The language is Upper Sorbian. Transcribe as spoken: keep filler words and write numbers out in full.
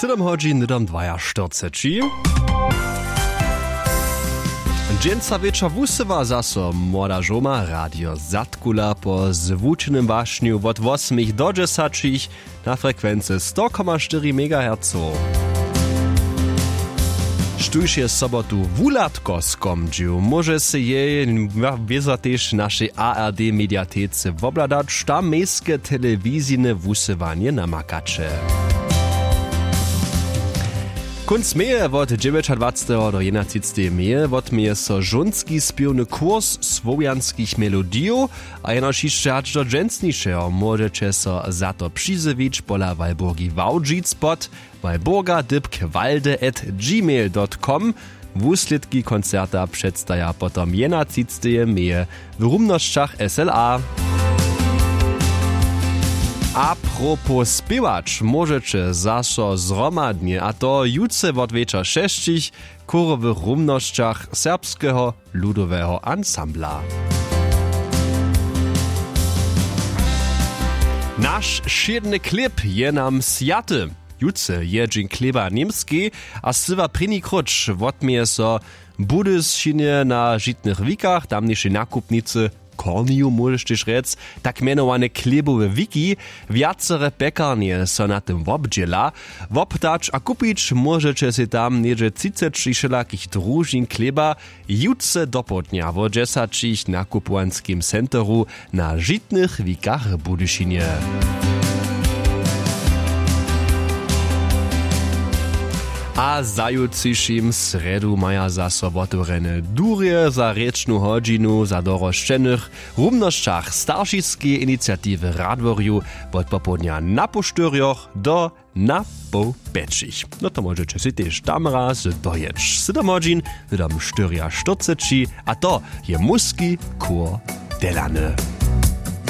Hdom hodźin hdom dwajaštyrceći. Dźensa wječor wusyła zaso młoda žoma radio zadkula po zwučenym wašnju wot wosmich do dźesaćich na frekwency sto koma štyri megahercow. Štóž je sobotu wuhladko skomdźił móže sej jej wězo tež w našej ard mediatece wobhladać tam mejske telewizijne wusyłanje namakaće. Kónc meje wot dźewjećadwaceteho do jedenatřiceteje meje wotměje so žónski spěwny kurs słowjanskich melodijow a jenož hišće hač do dźensnišeho móžeće so za to přizjewić pola walburgi wałdźic pod walburga dypk walde at gmail dot com. Wuslědki koncerta předstaja potom jedenatřiceteje meje w rumnosćach sla. A propos spěwać móžeće zaso zhromadnje a to jutře wot wječor šesćich w chórowych rumnosćach serbskeho ludoweho ansambla. Naš wšědny chlěb je nam swjaty. Jutře je dźeń chlěba w němskej a syła prěni króć wotměje so w budyšinje na žitnych wikach tamnišej nakupnicy korniju móžeš tež rjec tak mjenowane chlěbowe wiki. Wjacere pjekarnje so na tym wobdźěla. Wobtać a kupić móžeće sej tam něhdźe třiceći wšelakich družin chlěba jutře dopołdnja wo dźesaćich w nakupowanskim centeru na žitnych wikach w budyšinje. A zajutřišim srjedu maja zaso wotewrjene durje za rěčnu hodźinu za dorosćenych w rumnosćach staršiskeje iniciatiwy radworju wot popołdnja na poł štyrjoch do na poł pjećich. No to móžeće sej tež tam raz dojěć sydomhodźin hdom štyriaštyrceći. A to je muski chór delany.